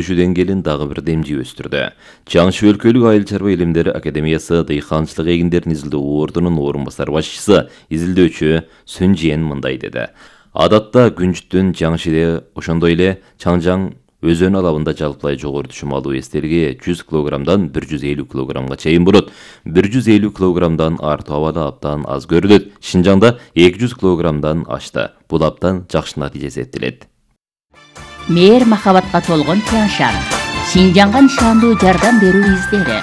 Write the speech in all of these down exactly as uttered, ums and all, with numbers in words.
Düşүүдөн келин дагы бир демжи өстүрдү. Чаңшы өлкөлүк айыл чарба илимдери академиясы дыйканчылык эгиндерин изилдөө ордунун орун басар башчысы, изилдөөчү Сүнжиен мындай деди. Адатта күнжүттүн Чаңшыде ошондой эле Чаңжаң өзөн алабында жалпылай жогору түшүм алуу эстелиги жүз килограммдан бир жүз элүү килограммга чейин болот. бир жүз элүү килограммдан артык абада абдан аз көрүлөт. Шинжаңда эки жүз килограммдан ашты. Бул абдан жакшы натыйжа эсептелет. Мээр махабатка толгон Тянь-Шань. Шинжаңга нишандуу жардам берүү издери.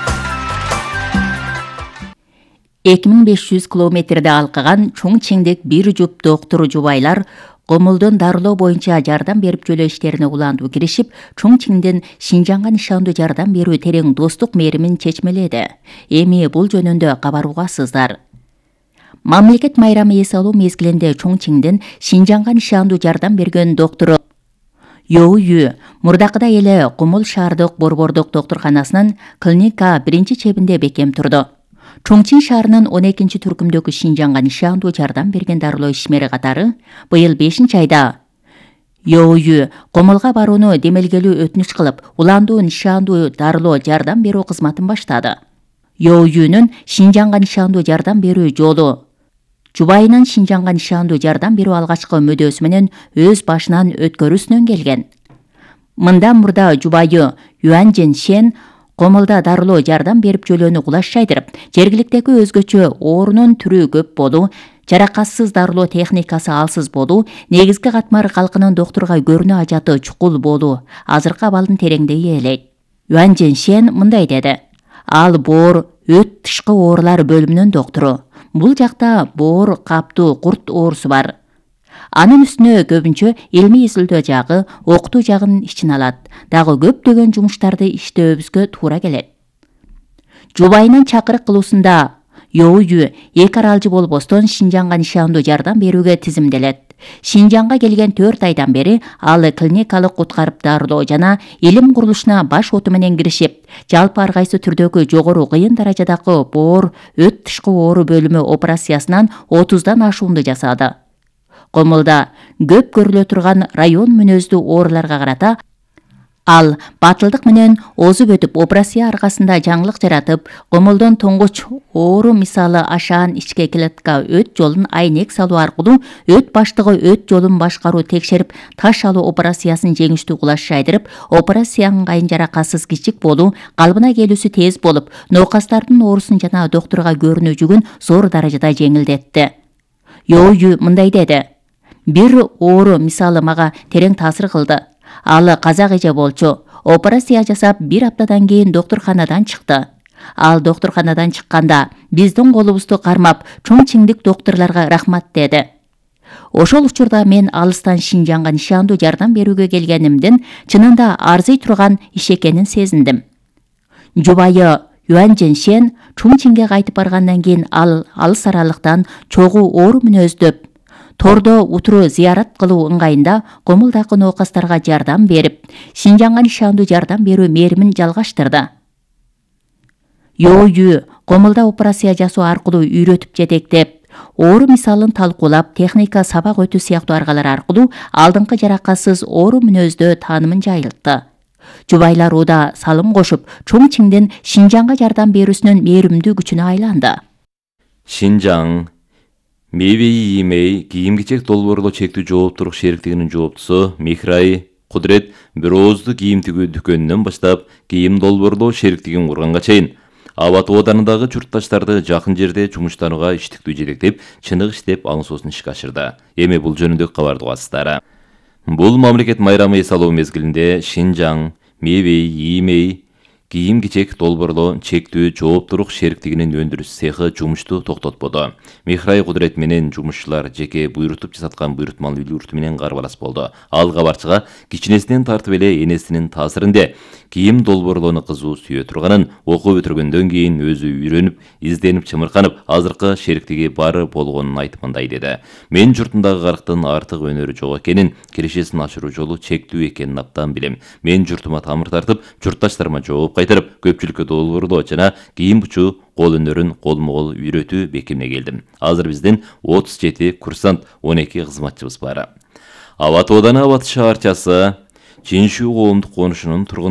эки миң беш жүз километрде алкаган Чоңчиңдик бир жуп доктуру жубайлар комулдун дарылоо боюнча жардам берип жөлөө иштерине улантуу киришип, Чоңчиңдин Шинжаңга нишандуу жардам берүү терең достук мээримин чечмеледи. Эми бул жөнүндө кабаргасыздар. Мамлекет майрамы эс алуу мезгилинде Чоңчиңдин Шинжаңга нишандуу жардам берген доктору Йоую мурдакыдай эле Кумул шаардык борбордук доктурканасынын клиника биринчи чебинде бекем турду. Чоңчиң шаарынын он экинчи түркүмдөгү Шинжаңга нишандуу жардам берген дарылоо ишмери катары быйыл бешинчи айда Йоую Комулга барууну демелгелүү өтүнүч кылып, уландуу нишандуу дарылоо жардам берүү кызматын баштады. Йоуюнун Шинжаңга нишандуу жардам берүү жолу жубайынын Шинжаңга нишандуу жардам берүү алгачкы мөдөсү менен өз башынан өткөрүүсүнөн келген. Мындан мурда жубайы Юань Жэньшен Комулда дарылоо жардам берип жөлөнү кулаш жайдырып, жергиликтеги өзгөчө оорунун түрү көп болуу, жаракатсыз дарылоо техникасы алсыз болуу, негизги катмар калкынын доктурга көрүнүү ажаты чукул болуу азыркы абалдын тереңдеги элек. Юань Жэньшен мындай деди. Ал боор, өт тышкы оорулар бөлүмүнүн доктору. Бул жакта боор, каптуу, курт оорусу бар. Анын үстүнө көбүнчө илмий изилдөө жагы, окутуу жагын ичине алат. Дагы көптөгөн жумуштарды иштөөбүзгө туура келет. Жубайынын чакырык кылуусунда Йоую эки аралжы болбостон Шинжаңга нишандуу жардам берүүгө тизимделет. Шинжаңга келген төрт айдан бери ал клиникалык куткарып дарылоо жана илим курулушуна баш оту менен киришип, жалпы ар кайсы түрдөгү жогору кыйын даражадагы боор, өт тышкы оору бөлүмү операциясынан отуздан ашуунду жасады. Комулда көп көрүлө турган район мүнөздүү ооруларга карата ал батылдык менен озуп өтүп, операция аркасында жаңылык жаратып, Комулдун тоңгоч оору мисалы ашаан ичке клетка өт жолун айнек салуу аркылуу өт баштыгы өт жолун башкаруу текшерип, таш алуу операциясын жеңиштүү кулаш жайдырып, операция ыңгайын жаракатсыз кичик болуу, калыбына келүүсү тез болуп, ноокастардын оорусун жана доктурга көрүнүү жүгүн зор даражада жеңилдетти. Йоую мындай деди. Бир оору мисалы мага терең таасир кылды. Ал казак эже болчу. Операция жасап бир аптадан кийин доктурканадан чыкты. Ал доктурканадан чыкканда биздин колубузду кармап, Чоңчиңдик доктурларга рахмат деди. Ошол учурда мен алыстан Шинжаңга нишандуу жардам берүүгө келгенимдин чынында арзый турган иш экенин сезиндим. Жубайы Юань Жэньшен Чоңчиңге кайтып баргандан кийин ал алыс аралыктан чогуу оору мүнөздөп, тордо утуру зыярат кылуу ыңгайында Комулдагы ноокастарга жардам берип, Шинжаңга нишандуу жардам берүү мээримин жалгаштырды. Йоую Комулда операция жасоо аркылуу үйрөтүп жетектеп, оору мисалын талкуулап, техника сабак өтүү сыяктуу аргалар аркылуу алдыңкы жаракатсыз оору мүнөздө таанымын жайылтты. Жубайлар уда салым кошуп, Чоңчиңдин Шинжаңга жардам берүүсүнүн мээримдүү күчүнө айланды. Шинжаң Мейвей Иймей кийим-кечек долбоорлоо чектүү жооптурук шериктигинин жооптусу Михрай Кудрет бир ооздуу кийим тигүү дүкөнүнөн баштап кийим долбоорлоо шериктигин курганга чейин Абат ооданындагы журтташтарды жакын жерде жумуштанууга иштиктүү жетектеп, чыныгы иштеп аңсоосун ишке ашырды. Эми бул жөнүндө кабарды угасыздар. Бул мамлекет майрамы эс алуу мезгилинде Шинжаң Мейвей Иймей кийим-кечек долбоорлоо чектүү жооптурук шериктигинин өндүрүш цехи жумушту токтотподу. Михрай Кудрет менен жумушчулар жеке буйрутуп жасаткан буйрутмалуу юрту менен карбалас болду. Ал кабарчыга кичинесинен тартып эле энесинин таасиринде кийим долбоорлоону кызуу сүйө турганын, окуп бүтүргөндөн кийин өзү үйрөнүп, изденип чымырканып, азыркы шериктиги бары болгонун айтып мындай деди. Мен журтундагы карктын артык өнөрү жок экенин, киришесин ашыруу жолу чектүү экенин абдан билем. Мен журтума тамыр тартып, журтташтарыма жооп кайтарып, көпчүлүккө долбоорлоо жана кийим бучуу кол өнөрүн колмо-кол үйрөтүү бекимине келдим. Азыр биздин отуз жети курсант, он эки кызматчыбыз бар. Абат ооданы Абат шаарчасы Жиншүү коомдук конушунун тургуну.